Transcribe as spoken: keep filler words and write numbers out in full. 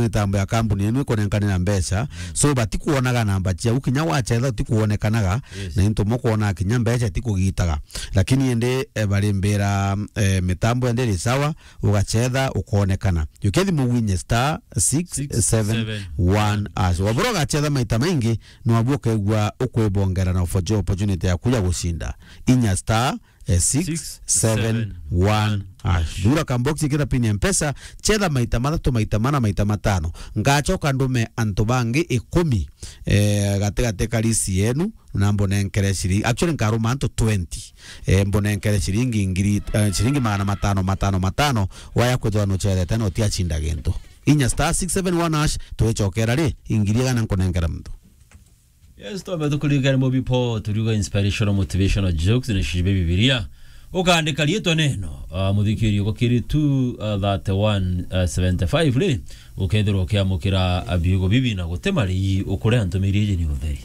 mitambo ya kambuni yenu ikunenkanira mbeca. So, batikuonaga namba ciau, kinya wacetha utikuonekanaga, Yes. na into mukwona kinya mbeca itikugitaga. Lakini indi, eh, barimbira, eh, mitambo yandi iri sawa, ugacetha, ukonekana. Jukia thimu winye star six seven one hash. Wabura ugacetha maita maingi, nwabu ukaigua ukwibongera na opportu-, opportunity yaku ya gucinda. Inya star, eh, six seven one hash. Thura kambox, ikira pin ya Mpesa, cetha maita mathatu, maita mana, maita matano. Ngacoka ndume antu bangi ikumi, eh, gatigati ka list yenu, na mbunenkere ciringi. Actually, nkaruma antu twenty. Eh, mbunenkere ciringi ngiri, eh, ciringi magana matano, matano, matano, waya kwithirwa nucethete na utiacinda gintu. Inya star six seven one hash, twicokera ri, ingiri igana nkunenkera muntu. Yes, twambe tukuririkane Mobi Paul, turiuga inspirational, motivational jokes, ni cibe Bibilia. Ukaandika riitwa neno, ah, muthikiri uko kiri two thirty-one seventy-five ri, ukethirwa ukiamukira, ah, biugo bibi na guti marii ukure antu miri iji ni utheri.